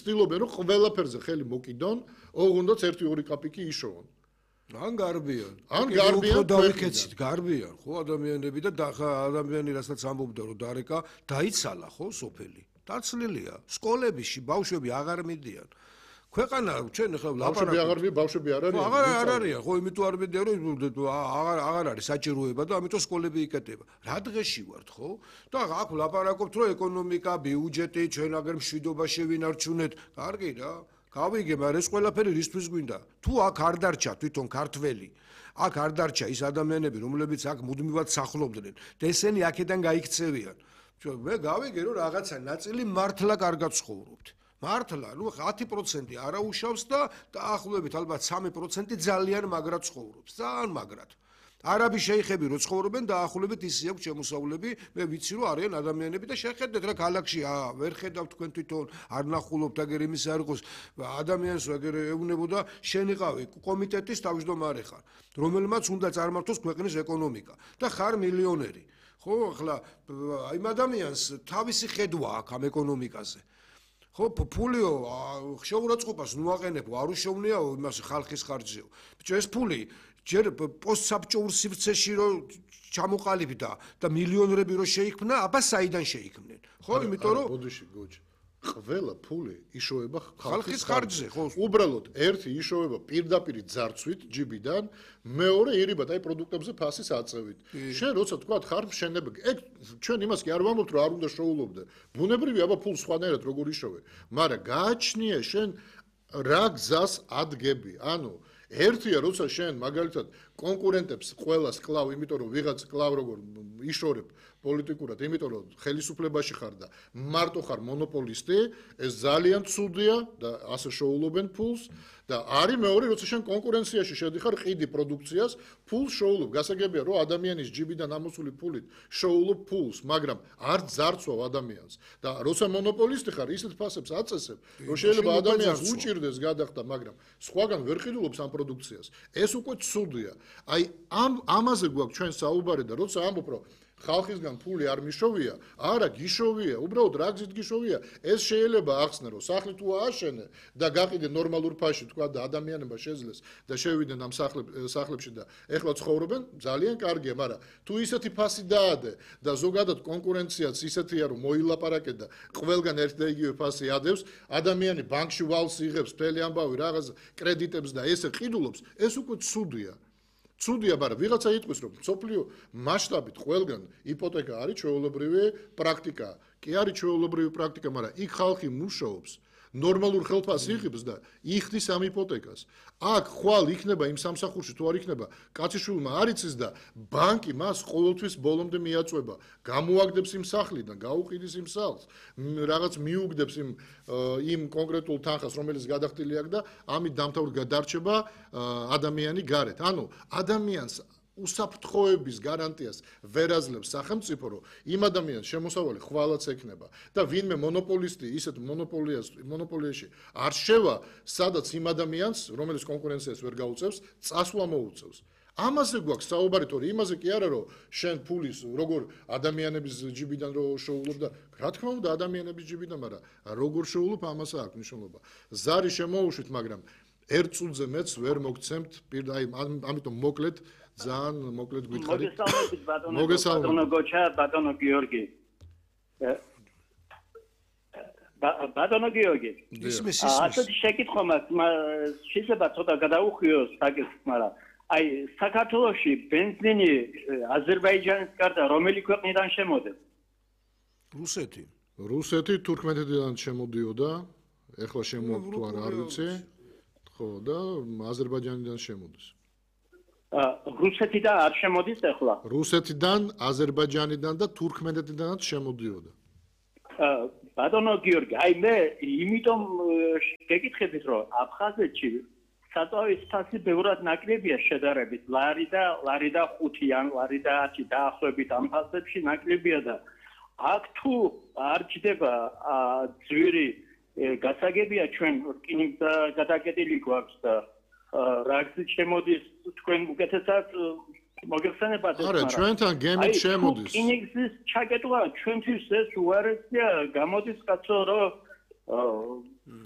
ცდილობენ რომ ყველაფერზე ხელი მოკიდონ, ოღონდაც 1-2 კაპიკი იშოვონ. ან გარბიან. ან გარბიან დავიქეცით, გარბიან, ხო ადამიანები და ადამიანი რასაც ამბობდა რომ დარეკა, დაიცალა ხო სოფელი. დაცლილია. სკოლებში ბავშვები აღარ მიდიან. ქვეყანა ჩვენ ახლა ბავშვები აღარ მიდიან, ბავშვები არ არიან. აღარ არიან, ხო, იმიტომ არ მიდიან რომ აღარ არის საჭიროება და ამიტომ სკოლები იკეტება. რა დღეში ვართ, ხო? და აქ ლაპარაკობთ რომ ეკონომიკა, ბიუჯეტი, ჩვენ აგერ მშვიდობა შევინარჩუნეთ. კარგი რა. გავიგე, მაგრამ ეს ყველაფერი რისთვის გვინდა? თუ აქ არ დარჩა თვითონ ქართველი, აქ არ დარჩა ის ადამიანები, რომლებიც აქ მუდმივად სახლობდნენ და ესენი აქედან გაიქცევიან. მე გავიგე, რომ რაღაცა ნაწილი მართლა კარგად ცხოვრობთ. მართლა, ნუ 10% არაუშავს და დაახლოებით ალბათ 3% ძალიან მაგრად ცხოვრობს. ძალიან მაგრად. არაბი შეიხები რო ცხოვრობენ დაახლოებით ისე აქვს შემოსავლები, მე ვიცი რომ არიან ადამიანები და შეხედეთ რა ქალაქში ვერ ხედავთ თქვენ თვითონ არ ნახულობთ აგერ იმის არ იყოს ადამიანს აგერ ეუბნებოდა შენ იყავი კომიტეტის თავმჯდომარე ხარ, რომელმაც უნდა წარმართოს ქვეყნის ეკონომიკა და ხარ მილიონერი. ხო, ახლა იმ ადამიანს თავისი ხედვა აქვს ამ ეკონომიკაზე. ხო, ფულიო შეურაცხყოფას ნუ აყენებო, არ უშოვნია იმას ხალხის ხარჯზეო. ბიჭო, ეს ფული ჯერ პოსტსაბჭოურ სივრცეში რომ ჩამოყალიბდა და მილიონერები რომ შეიქმნა, აბა საიდან შეიქმნენ? ხო, იმიტომ რომ ბოდიში გოჯი. ყველა ფული იშოვება ხალხის ხარჯზე, ხო. უბრალოდ ერთი იშოვება პირდაპირ ძარცვით ჯიბიდან, მეორე ირიბად აი პროდუქტებზე ფასის აწევით. შენ როცა თქვა ხარ მშენებელი, ეგ ჩვენ იმას კი არ ვამბობთ რომ არ უნდა შოულობდე. ბუნებრივია აბა ფულს სხვანაირად როგორ იშოვე, მაგრამ გააჩნია შენ რა გზას ადგები. ანუ ერთია როცა შენ მაგალითად კონკურენტებს ყველას კლავ, იმიტომ რომ ვიღაც კლავ როგორ იშორებ პოლიტიკურად, იმიტომ რომ ხელისუფლებაში ხარ და მარტო ხარ მონოპოლისტი, ეს ძალიან ცუდია და ასე შოულობენ ფულს და არის მეორე როცა შენ კონკურენციაში შედიხარ ყიდი პროდუქციას, ფულს შოულობ. გასაგებია რომ ადამიანის ჯიბიდან ამოსული ფულით შოულობ ფულს, მაგრამ არ ძარცვავ ადამიანს და როცა მონოპოლისტი ხარ, ისეთ ფასებს აწესებ, რომ შეიძლება ადამიანს უჭირდეს გადახდა, მაგრამ სხვაგან ვერ ყიდულობს ამ პროდუქციას. ეს უკვე ცუდია. აი ამაზე გვაქვს ჩვენ საუბარი და როცა ამბობ რომ ხალხისგან ფული არ მიშოვია, არა გიშოვია, უბრალოდ რა გზით გიშოვია, ეს შეიძლება ახსნე რომ სახლი თუ ააშენე და გაყიდე ნორმალურ ფასში თქვა და ადამიანებმა შეძლეს და შევიდნენ ამ სახლებში და ეხლა ცხოვრობენ, ძალიან კარგია, მაგრამ თუ ისეთი ფასი დაადე და ზოგადად კონკურენციაც ისეთია რომ მოილაპარაკე და ყველგან ერთ და იგივე ფასი ადევს, ადამიანი ბანკში ვალს იღებს, მთელი ამბავი რაღაც კრედიტებს და ესე ყიდულობს, ეს უკვე ცუდია. ცუდია, მაგრამ ვიღაცა იტყვის რომ სოფლიო მასშტაბით ყველგან იპოთეკა არის ჩვეულებრივი პრაქტიკა. კი არის ჩვეულებრივი პრაქტიკა, მაგრამ იქ ხალხი მუშაობს, ნორმალურ ხელფასს იღებს და იხდის ამ იპოთეკას. აქ ხვალ იქნება იმ სამსახურში თუ არ იქნება, კაციშვილმა არ იცის და ბანკი მას ყოველთვის ბოლომდე მიაწვება, გამოაგდებს იმ სახლიდან, გაუყიდის იმ სახლს, რაღაც მიუგდებს იმ კონკრეტულ თანხას, რომელიც გადახდილი აქვს და ამით დამთავრდა გადარჩება ადამიანი გარეთ. ანუ ადამიანს უსაფრთხოების გარანტიას ვერ აძლევს სახელმწიფო, რომ იმ ადამიანს შემოსავალი ხვალაც ექნება და ვინმე მონოპოლისტი ისეთ მონოპოლიაში არ შევა, სადაც იმ ადამიანს, რომელიც კონკურენციას ვერ გაუწევს, წასვლა მოუწევს. ამაზე გვაქვს საუბარი, თორე იმაზე კი არა, რომ შენ ფულის როგორ ადამიანების ჯიბიდან რო შოულობ და რა თქმა უნდა ადამიანების ჯიბიდან, მაგრამ როგორ შოულობ ამას აქვს მნიშვნელობა. ზარი შემოუშვით, მაგრამ ერთ წუთზე მეც ვერ მოგცემთ, ამიტომ მოკლედ ძალიან მოკლედ გითხარით. მოგესალმებით ბატონო გოჩა, ბატონო გიორგი. ბატონო გიორგი. ასეთი შეკითხვა მაქვს, შეიძლება ცოტა გადაუხვიოს საკითხს, მაგრამ აი საქართველოში ბენზინი აზერბაიჯანის გარდა რომელი ქვეყნიდან შემოდის? რუსეთი. რუსეთი თურქმენეთიდან შემოდიოდა, ეხლა შემოაქვს თუ არა არ ვიცი. ხო და აზერბაიჯანიდან შემოდის. რუსეთიდან არ შემოდის ახლა? რუსეთიდან, აზერბაიჯანიდან და თურქმენეთიდანაც შემოდიოდა. ბატონო გიორგი, აი მე იმიტომ გეკითხებით, რომ აფხაზეთში საწვავის ფასი ბევრად ნაკლებია შედარებით, ლარი და 5 ან ლარი და 10 დაახლოებით ამ ფასებში ნაკლებია და აქ თუ არ ჯდება ძვირი გასაგებია ჩვენ რკინიგზა გადაკეტილი გვაქვს და რა გზით შემოდის თქვენ უკეთესად მოგეხსენებათ ეს არა ჩვენთან გემით შემოდის რკინიგზის ჩაკეტვა ჩვენთვის ეს უარესია გამოდის კაცო რომ